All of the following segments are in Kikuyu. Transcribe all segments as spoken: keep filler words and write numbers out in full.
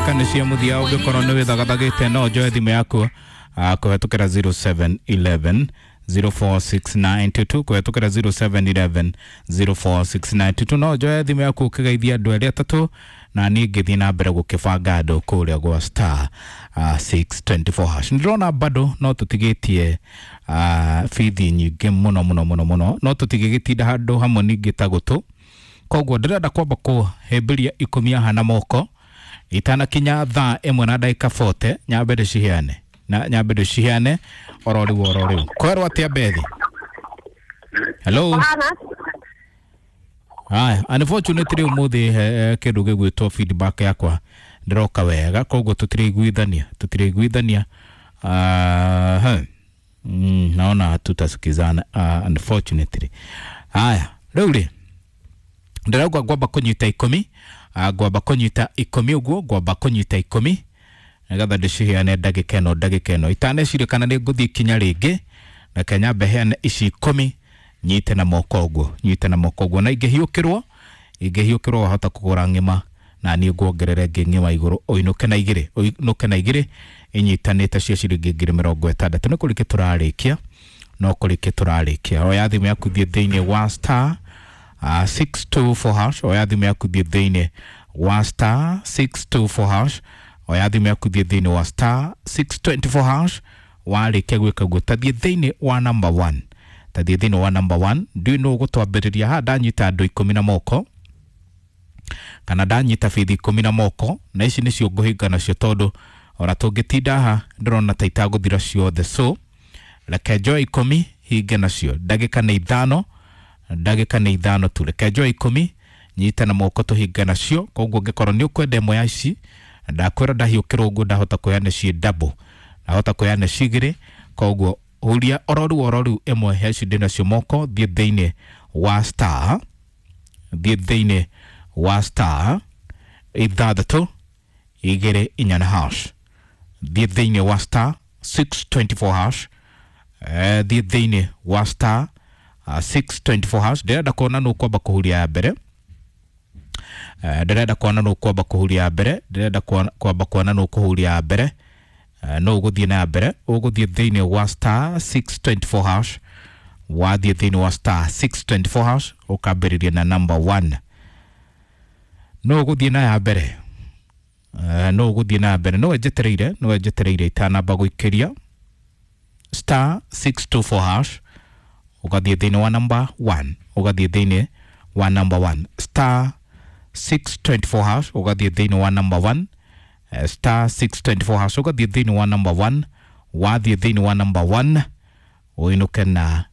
Ndagĩka nĩ cia mũthia, ũngĩkorwo nĩ wĩthagathagĩte no njoe thimũ yaku ah, kũhetũkĩra zero seven eleven zero four six nine two two, kũhetũkĩra zero seven eleven zero four six nine two two. No njoe thimũ yaku ũkĩgeithia andũ erĩ atatũ na niĩ ngĩthiĩ na mbere gũkĩbanga andũ kũrĩa gwa star uh, six twenty four hash. Ndĩrona bado no tũtigĩtie uh, bithi nyingĩ mũno mũno mũno mũno, no tũtigĩgĩtinda handũ hamwe ningĩ ta gũtũ. Koguo ndĩrenda kwamba kũhĩmbĩria ikũmi haha na moko itanakinya thaa ĩmwe na ndagĩka forty, nyambe ndĩciheane na nyambe ndĩciheane oro rĩu oro rĩu. Kwerwo atĩa Bethi? Hello. Haya, unfortunately ũmũthĩ eh, kĩndũ gĩgwĩtwo feedback yakwa ndĩroka wega, koguo tũtiraiguithania tũtiraiguithania. Uh, mm, naona hatutasikizana uh, unfortunately. Haya, rĩu rĩ ndĩrauga ngwamba kũnyita ikũmi, uh, ngwamba kũnyita ikũmi ũguo, ngwamba kũnyita ikũmi nĩgetha ndĩciheane ndagĩka ĩno ndagĩka ĩno. Itaneciria kana nĩ ngũthiĩ kinya rĩngĩ, reke nyambe heane ici ikũmi, nyite na moko ũguo, nyite na moko ũguo, na ingĩhiũkĩrwo ingĩhiũkĩrwo wahota kũgũra ng'ima na niĩ nguongerere ĩngĩ ng'ima igũrũ, ũinũke na igĩrĩ, ũinũke na igĩrĩ inyitanĩte cia ciringi ngiri mĩrongo ĩtandatũ. Nĩ kũrĩkia tũrarĩkia, no kũrĩkia tũrarĩkia. Oya thimũ yaku thiĩ thĩinĩ wa star uh, six two four hash. Oya thimũ yaku thiĩ thĩinĩ wa star six two four hash. Oya thimũ yaku thiĩ thĩinĩ wa star six twenty four hash. Warĩkia gwĩka guo tathiĩ thĩinĩ wa number one, tathiĩ thĩinĩ wa number one. Ndiũĩ nũ ũgũtwambĩrĩria haha. Ndanyita andũ ikũmi na moko kana ndanyita bithi ikũmi na moko, na ici nĩcio ngũhinga nacio tondũ ona tũngĩtinda haha ndĩrona ta itagũthira ciothe. So reke njoe ikũmi hinge nacio, ndagĩka nĩ ithano, ndagĩka nĩ ithano tu. Reke njoe ikũmi nyite na moko tũhinge nacio. Koguo ũngĩkorwo nĩ ũkwenda ĩmwe ya ici, ndakwĩra ndahiũkĩrwo ũguo ndahota kũheana ciĩ double, ndahota kũheana ci igĩrĩ. Koguo huria oro rĩu oro rĩu ĩmwe ya ici ndĩ nacio moko, thiĩ thĩinĩ wa star, thiĩ thĩinĩ wa star ithathatũ igĩrĩ inya na hash, thiĩ thĩinĩ wa star six twenty four hash, eh, thiĩ thĩinĩ wa star uh, six twenty four hash. Ndĩrenda kuona nũ ũkwamba kũhuria ya mbere, eh, ndĩrenda kuona nũ ũkwamba kũhuria ya mbere, ndĩrenda kwamba kuona nũ ũkũhuria ya mbere, eh, nũ ũgũthiĩ na ya mbere. Ũgũthiĩ thĩinĩ wa star six twenty four hash, wathiĩ thĩinĩ wa star six twenty four hash ũkambĩrĩria na number one. Nũ ũgũthiĩ na ya mbere, eh, nũ ũgũthiĩ na ya mbere, nĩwe njetereire, nĩwe njetereire itanamba gũikĩria star six two four hash, ũgathiĩ thĩinĩ wa number one, ũgathiĩ thĩinĩ wa number one, star six twenty four hash, ũgathiĩ thĩinĩ wa number one, eh, star six twenty four hash, ũgathiĩ thĩinĩ wa number one, wathiĩ thĩinĩ wa number one ũinũke na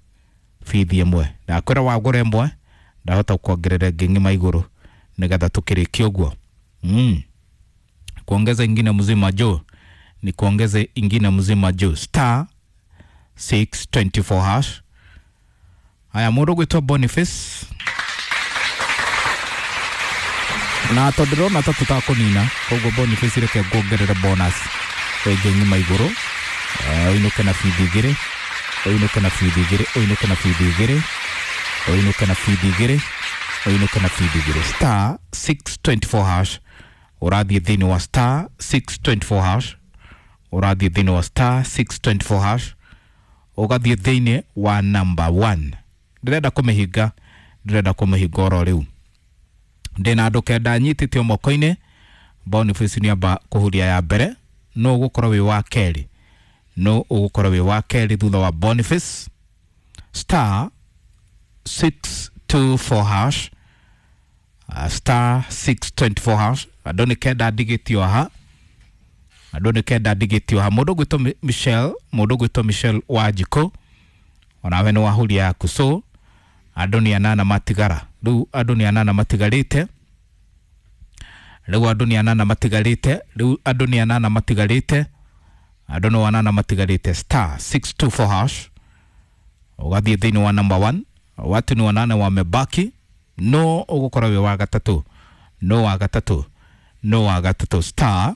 bithi ĩmwe. Ndakwĩra wagũra ĩmwe ndahota kuongerera ĩngĩ ng'ima igũrũ nĩgetha tũkĩrĩkie ũguo. Mm. Kuongeza ingine mzima juu ni kuongeze ingine mzima juu star six twenty four hash. Haya, mũndũ ũgwĩtwo Boniface, na tondũ ndĩrona ta tũtakũnina, koguo Boniface reke nguongerere bonus ĩngĩ ng'ima igũrũ, eh, ũinũke na bithi igĩrĩ, ũinũke na bithi igĩrĩ, ũinũke na bithi igĩrĩ, ũinũke na bithi igĩrĩ, ũinũke na bithi igĩrĩ. Star six twenty four hash, ũrathiĩ thĩinĩ wa star six twenty four hash, ũrathiĩ thĩinĩ wa star six twenty four hash, ũgathiĩ thĩinĩ wa number one. Ndĩrenda kũmĩhinga, ndĩrenda kũmĩhinga oro rĩu. Ndĩna andũ kenda nyitĩtio moko-inĩ. Boniface nĩ amba kũhuria ya mbere, no ũgũkorwo wĩ wa kerĩ, no ũgũkorwo wĩ wa kerĩ thutha wa Boniface. Star six two four hash, uh, star six twenty four hash. Andũ nĩ kenda ndigĩtio haha, andũ nĩ kenda ndigĩtio haha. Mũndũ ũgwĩtwo Michelle, mũndũ ũgwĩtwo Michelle Wanjikũ, onawe nĩ wahuria yaku. So andũ nĩ anana matigara rĩu, andũ nĩ anana matigarĩte rĩu, andũ nĩ anana matigarĩte rĩu, andũ nĩ anana matigarĩte, andũ nĩ anana matigarĩte. Star six two four hash, ũgathiĩ thĩinĩ wa number one. Watu ni wanane wamebaki, no ũgũkorwo wĩ wa gatatũ, no wa gatatũ, no wa gatatũ. Star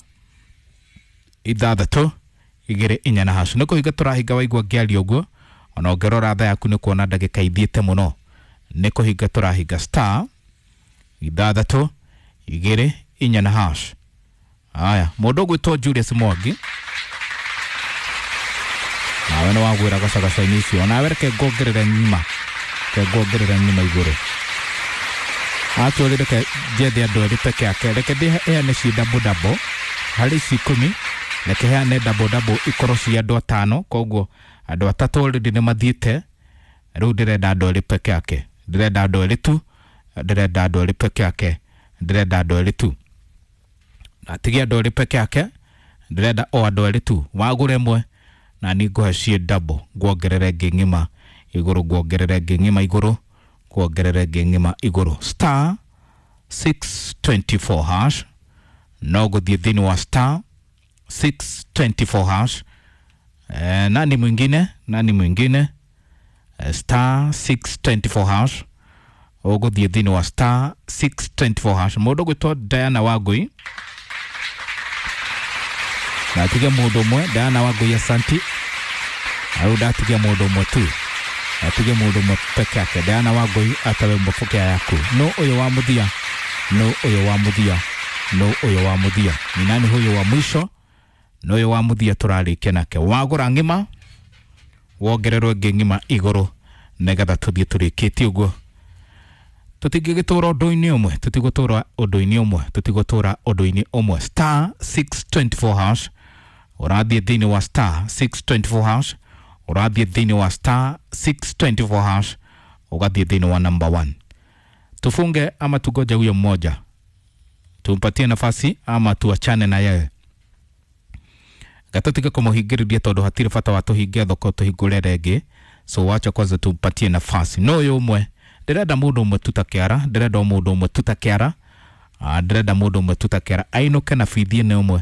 ithathatũ igĩrĩ inya na hash. Nĩ kũhinga tũrahinga waigua ngĩaria ũguo, ona ũngĩrora thaa yaku nĩ kuona ndagĩka ithiĩte mũno. Nĩ kũhinga tũrahinga. Star ithathatũ igĩrĩ inya na hash. Aya, mũndũ ũgwĩtwo Julius Mwangi, nawe nĩ wagwĩra gacagaca-inĩ icio. Nawe reke nguongerere ng'ima, reke nguongerere ng'ima igũrũ. Actually reke njethe andũ erĩ peke yake, reke ndĩheane ci double double harĩ ici ikũmi, reke heane double double ikorwo ci andũ atano. Koguo andũ atatũ already nĩ mathiĩte, rĩu ndĩrenda andũ erĩ peke yake, ndĩrenda andũ erĩ tu, ndĩrenda andũ erĩ peke yake, ndĩrenda andũ erĩ tu. Atigia andũ erĩ peke yake, ndĩrenda o andũ erĩ tu. Wagũra ĩmwe na niĩ ngũhe ciĩ double, nguongerere ĩngĩ ng'ima igũrũ, nguongerere ĩngĩ ng'ima igũrũ, nguongerere ĩngĩ ng'ima igũrũ. Star six twenty four hash, no gũthiĩ thĩinĩ wa star six twenty four hash. Eh, nani mwingine, nani mwingine? Eh, star six twenty four hash, ũgũthiĩ thĩinĩ wa star six twenty four hash. Mũndũ ũgwĩtwo Diana Wangui, ndatigia mũndũ ũmwe. Diana Wangui, asanti. Rĩu ndatigia mũndũ ũmwe tu, ndatigia mũndũ ũmwe peke yake. Diana Wangui, atawe mbofokea yaku. No ũyũ wa mũthia, no ũyũ wa mũthia, no ũyũ wa mũthia. Ni nani huyu wa mwisho? No ũyũ wa mũthia tũrarĩkia nake. Wagũra ng'ima wongererwo ĩngĩ ng'ima igũrũ, nĩgetha tũthiĩ tũrĩkĩtie ũguo. Tũtingĩgĩtũra ũndũ-inĩ ũmwe, tũtigũtũra ũndũ-inĩ ũmwe, tũtigũtũra ũndũ-inĩ ũmwe. Star six twenty four hash, ũrathiĩ thĩinĩ wa star six twenty four hash, ũrathiĩ thĩinĩ wa star six twenty four hash, ũgathiĩ thĩinĩ wa number one. Tufunge ama tugoje huyo mmoja, tumpatie nafasi ama tuachane na yeye? Gatũtige kũmũhingĩrĩria tondũ hatirĩ bata wa tũhinge thoko tũhingũre rĩngĩ. So wacha kwanza tumpatie nafasi. No ũyũ ũmwe, ndĩrenda mũndũ ũmwe tu ta kĩara, ndĩrenda mũndũ ũmwe tu ta kĩara, ah, ndĩrenda mũndũ ũmwe tu ta kĩara ainũke na bithi ĩno ĩmwe,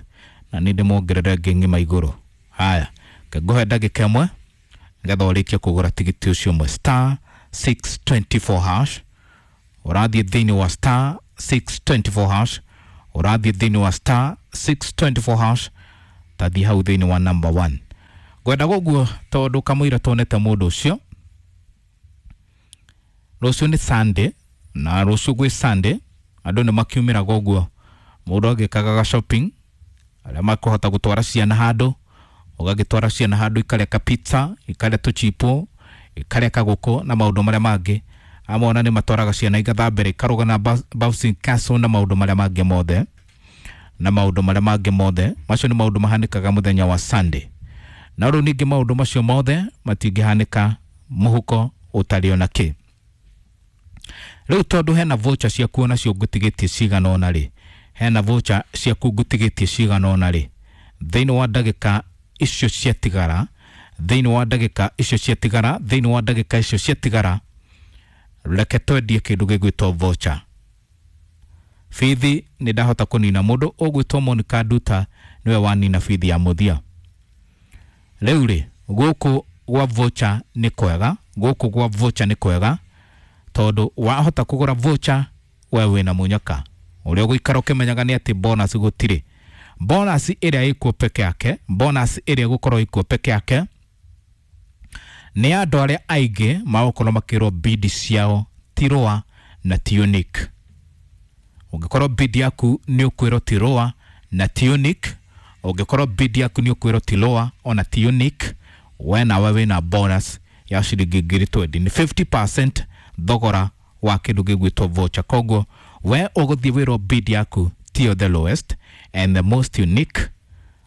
na nĩ ndĩmuongerere ĩngĩ ng'ima igũrũ. Haya, ngũhe ndagĩka ĩmwe nĩgetha ũrĩkie kũgũra tigiti ũcio ũmwe. Star six twenty four hash, ũrathiĩ thĩinĩ wa star six twenty four hash, ũrathiĩ thĩinĩ wa star six twenty four hash, tathiĩ hau thĩinĩ wa number one. Ngwenda ũguo tondũ kamũira tuonete mũndũ ũcio. Rũciũ nĩ Sunday, na rũciũ gwĩ Sunday andũ nĩ makiumĩraga ũguo, mũndũ agĩkaga ga shopping, arĩa makũhota gũtwara ciana handũ, ũgagĩtwara ciana handũ ikarĩa ka pizza, ikarĩa tũchipo, ikarĩa kagũkũ na maũndũ marĩa mangĩ. Amwe ona nĩ matwaraga ciana igathambĩra, ikaruga na bouncing castle na maũndũ marĩa mangĩ mothe, na maũndũ marĩa mangĩ mothe. Macio nĩ maũndũ mahanĩkaga mũthenya wa Sunday. Na rĩu ningĩ maũndũ macio mothe matingĩhanĩka mũhuko ũtarĩ ona kĩ. Rĩu tondũ hena voucher ciaku onacio ngũtigĩtie cigana ũna rĩ, hena voucher ciaku ngũtigĩtie cigana ũna rĩ, thĩinĩ wa ndagĩka icio ciatigara, thĩinĩ wa ndagĩka icio ciatigara, thĩinĩ wa ndagĩka icio ciatigara, reke twendie kĩndũ gĩgwĩtwo voucher. Bithi nĩ ndahota kũnina mũndũ ũgwĩtwo Monica Nduta, nĩwe wanina bithi ya mũthia. Rĩu rĩ, gũkũ gwa voucher nĩ kwega, gũkũ gwa voucher nĩ kwega, tondũ wahota kũgũra voucher we wĩna mũnyaka. Ũrĩa ũgũikara ũkĩmenyaga nĩ atĩ bonus gũtirĩ. Bonus ĩrĩa ĩkuo peke yake, bonus ĩrĩa ĩgũkorwo ĩkuo peke yake nĩ andũ arĩa aingĩ magũkorwo makĩrwo bid ciao ti lower na ti unique. Ũngĩkorwo bid yaku nĩ ũkwĩrwo ti lower na ti unique, ũngĩkorwo bid yaku nĩ ũkwĩrwo ti lower ona ti unique, we nawe wĩna bonus ya ciringi ngiri twenty. Nĩ fifty percent thogora wa kĩndũ gĩgwĩtwo voucher. Koguo we ũgũthiĩ wĩrwo bid yaku tiyo the lowest and the most unique,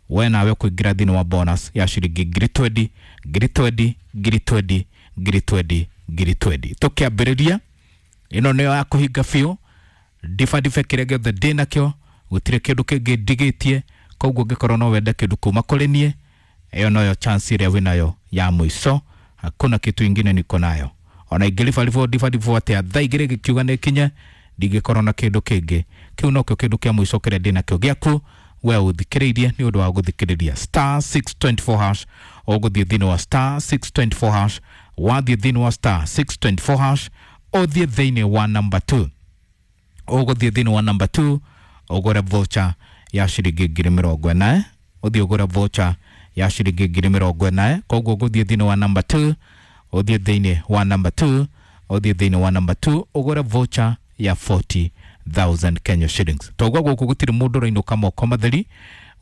we nawe ũkũingĩra thĩinĩ wa bonus ya ciringi ngiri twenty, ngiri twenty, ngiri twenty, ngiri twenty, ngiri twenty. Tũkĩambĩrĩria ĩno nĩyo ya kũhinga biũ, ndibadibe kĩrĩa gĩothe ndĩnakĩo, gũtirĩ kĩndũ kĩngĩ ndigĩtie. Koguo ũngĩkorwo no wende kĩndũ kuma kũrĩ niĩ, ĩyo noyo chance ĩrĩa wĩnayo ya mũico. Hakuna kitu ingine niko nayo. Ona ingĩribaribwo ndibaribwo atĩa, thaa igĩrĩ gĩkiuga nĩ kinye, ndingĩkorwo na kĩndũ kĩngĩ. Kĩu nokĩo kĩndũ kĩa mũico kĩrĩa ndĩnakĩo gĩaku we ũthikĩrĩirie nĩ ũndũ wa gũthikĩrĩria. Star six twenty four hash, ũgũthiĩ thĩinĩ wa star six twenty four hash, wathiĩ thĩinĩ wa star six twenty four hash, ũthiĩ thĩinĩ wa number two, ũgũthiĩ thĩinĩ wa number two ũgũre voucher ya ciringi ngiri mĩrongo ĩna, ũthiĩ ũgũre voucher ya ciringi ngiri mĩrongo ĩna. Koguo ũgũthiĩ thĩinĩ wa number two, ũthiĩ thĩinĩ wa number two, ũthiĩ thĩinĩ wa number two ũgũre voucher ya forty thousand Kenya shillings. Toguo gũkũ gũtirĩ mũndũ ũrainũka moko matheri,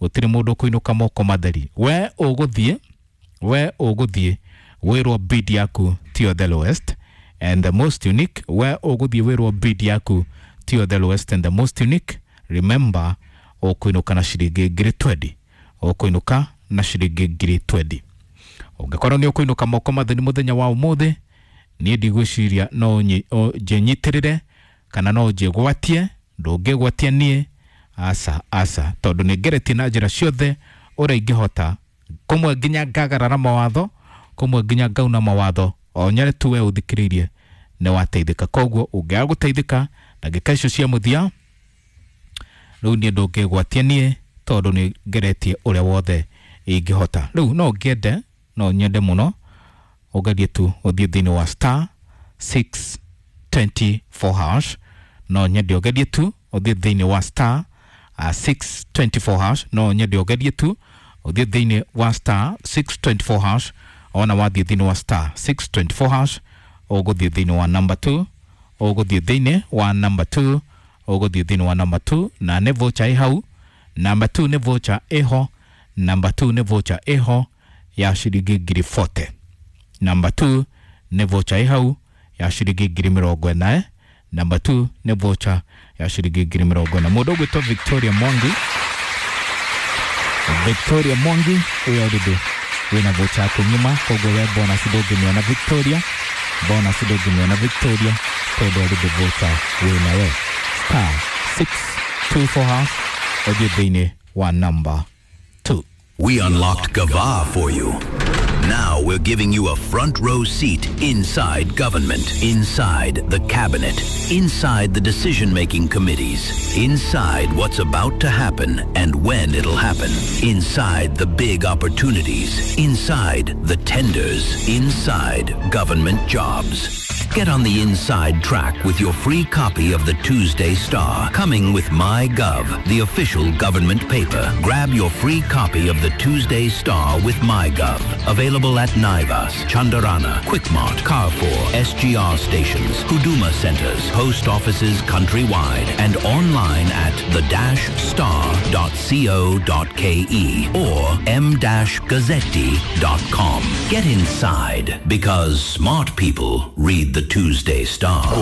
gũtirĩ mũndũ ũkũinũka moko matheri. We ũgũthiĩ, we ũgũthiĩ wĩrwo bid yaku tiyo the lowest and the most unique. We ũgũthiĩ wĩrwo bid yaku tiyo the lowest and the most unique. Remember, ũkũinũka na ciringi ngiri twenty, ũkũinũka na ciringi ngiri twenty. Ũngĩkorwo nĩ ũkũinũka moko matheri mũthenya wa ũmũthĩ, niĩ ndigwĩciria no njĩnyitĩrĩre kana no njĩgwatie. Ndũngĩgwatia niĩ, aca aca, tondũ nĩ ngeretie na njĩra ciothe ũrĩa ingĩhota, kũmwe nginya ngagarara mawatho, kũmwe nginya ngauna mawatho, o nyare tu we ũthikĩrĩirie nĩ wateithĩka. Koguo ũngĩaga gũteithĩka ndagĩka icio cia mũthia, rĩu niĩ ndũngĩgwatia niĩ tondũ nĩ ngeretie ũrĩa wothe ingĩhota. Rĩu no ngĩende, no nyende mũno ũgerie tu ũthiĩ thĩinĩ wa star six twenty four hash. No nyende ũgerie tu ũthiĩ thĩinĩ wa star uh, six twenty four hash. No nyende ũgerie tu ũthiĩ thĩinĩ wa star six twenty four hash. Ona wathiĩ thĩinĩ wa star six twenty four hash, ũgũthiĩ thĩinĩ wa number two, ũgũthiĩ thĩinĩ wa number two, ũgũthiĩ thĩinĩ wa number two, na nĩ voucher ĩ hau. Number two nĩ voucher ĩho, number two nĩ voucher ĩho ya ciringi ngiri forty. Number two nĩ voucher ĩ hau ya ciringi ngiri mĩrongo ĩna. Number two nĩ voucher ya ciringi ngiri mĩrongo ĩna. Mũndũ ũgwĩtwo Victoria Mwangi, Victoria Mwangi ũyũ already wĩna voucher yaku ng'ima, koguo we bonus ndũngĩmĩona Victoria, bonus ndũngĩmĩona Victoria tondũ already voucher wĩnayo. Star six two four hash, ũthiĩ thĩinĩ wa number two. We unlocked Gava for you. Now we're giving you a front row seat inside government, inside the cabinet, inside the decision-making committees, inside what's about to happen and when it'll happen, inside the big opportunities, inside the tenders, inside government jobs. Get on the inside track with your free copy of the Tuesday Star, coming with MyGov, the official government paper. Grab your free copy of the Tuesday Star with MyGov. Available at Naivas, Chandarana, Quickmart, Carrefour, S G R stations, Huduma centers, post offices countrywide, and online at the dash star dot co dot K E or m dash gazzetti dot com. Get inside, because smart people read the Tuesday Star.